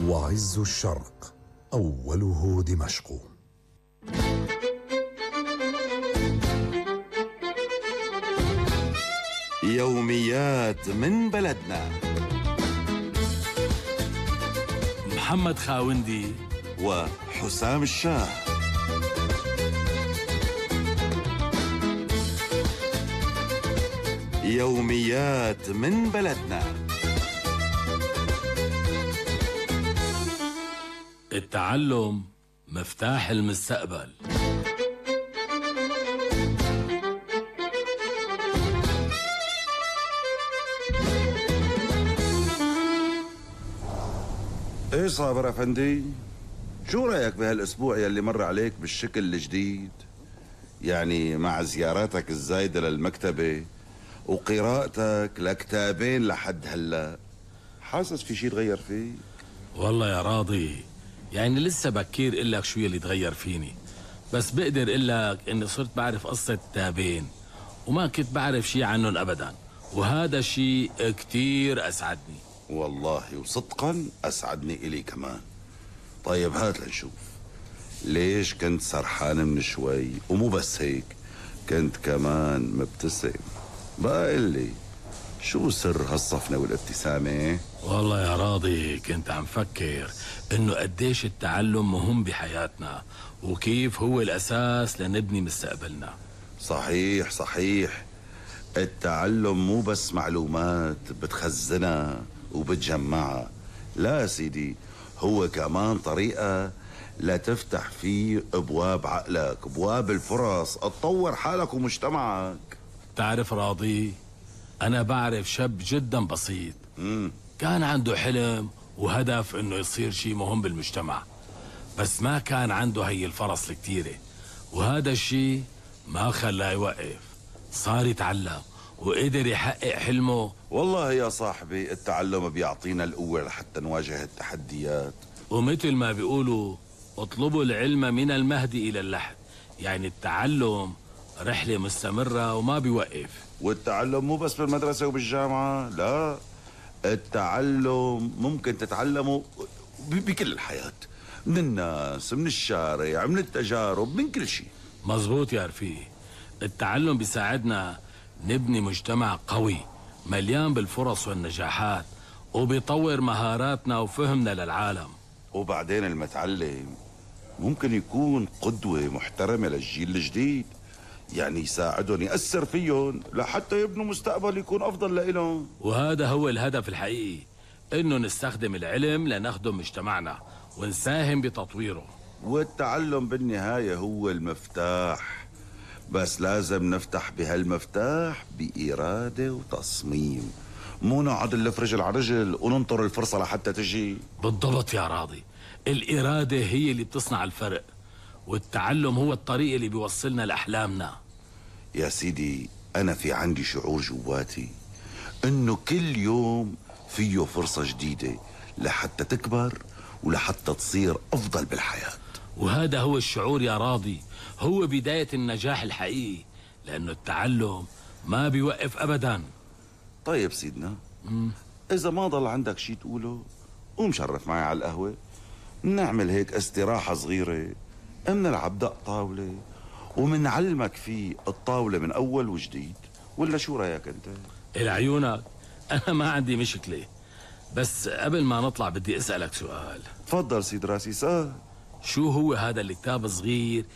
وعز الشرق أوله دمشق. يوميات من بلدنا. محمد خاوندي وحسام الشاه. يوميات من بلدنا. التعلم مفتاح المستقبل. ايش صابر افندي؟ شو رايك بهالاسبوع يلي مر عليك بالشكل الجديد؟ يعني مع زياراتك الزايده للمكتبه وقراءتك لكتابين لحد هلا، حاسس في شي تغير فيك؟ والله يا راضي، يعني لسه بكير إلك شو يلي تغير فيني، بس بقدر إلك إني صرت بعرف قصة كتابين وما كنت بعرف شي عنهم أبدا، وهذا شي كتير أسعدني. والله وصدقا أسعدني إلي كمان. طيب هات لنشوف، ليش كنت سرحان من شوي؟ ومو بس هيك، كنت كمان مبتسم. بقى لي شو سر هالصفنة والابتسامة؟ والله يا راضي كنت عم فكر إنه قديش التعلم مهم بحياتنا وكيف هو الأساس لنبني مستقبلنا. صحيح صحيح، التعلم مو بس معلومات بتخزنها وبتجمعها، لا سيدي، هو كمان طريقة لتفتح فيه ابواب عقلك، ابواب الفرص، تطور حالك ومجتمعك. تعرف راضي، أنا بعرف شاب جدا بسيط كان عنده حلم وهدف إنه يصير شي مهم بالمجتمع، بس ما كان عنده هي الفرص الكتيرة، وهذا الشي ما خلاه يوقف، صار يتعلم وقدر يحقق حلمه. والله يا صاحبي التعلم بيعطينا القوة لحتى نواجه التحديات، ومثل ما بيقولوا اطلبوا العلم من المهد إلى اللحد، يعني التعلم رحلة مستمرة وما بيوقف. والتعلم مو بس بالمدرسة وبالجامعة، لا، التعلم ممكن تتعلمه بكل الحياة، من الناس، من الشارع، من التجارب، من كل شيء. مزبوط يا رفيق، التعلم بيساعدنا نبني مجتمع قوي مليان بالفرص والنجاحات، وبيطور مهاراتنا وفهمنا للعالم. وبعدين المتعلم ممكن يكون قدوة محترمة للجيل الجديد، يعني يساعدهم، يأثر فيهم لحتى يبنوا مستقبل يكون أفضل لإلهم. وهذا هو الهدف الحقيقي، إنه نستخدم العلم لنخدم مجتمعنا ونساهم بتطويره. والتعلم بالنهاية هو المفتاح، بس لازم نفتح بهالمفتاح بإرادة وتصميم، مو نقعد نلف رجل على رجل وننطر الفرصة لحتى تجي. بالضبط يا راضي، الإرادة هي اللي بتصنع الفرق، والتعلم هو الطريق اللي بيوصلنا لأحلامنا. يا سيدي أنا في عندي شعور جواتي إنه كل يوم فيه فرصة جديدة لحتى تكبر ولحتى تصير أفضل بالحياة. وهذا هو الشعور يا راضي، هو بداية النجاح الحقيقي، لأنه التعلم ما بيوقف أبدا. طيب سيدنا، إذا ما ضل عندك شي تقوله قوم شرف معي على القهوة، نعمل هيك استراحة صغيرة، منلعب دق طاولة ومنعلمك فيه الطاولة من أول وجديد، ولا شو رأيك أنت؟ العيونك، أنا ما عندي مشكلة، بس قبل ما نطلع بدي أسألك سؤال. تفضل سيد راسي، سأل. شو هو هذا الكتاب الصغير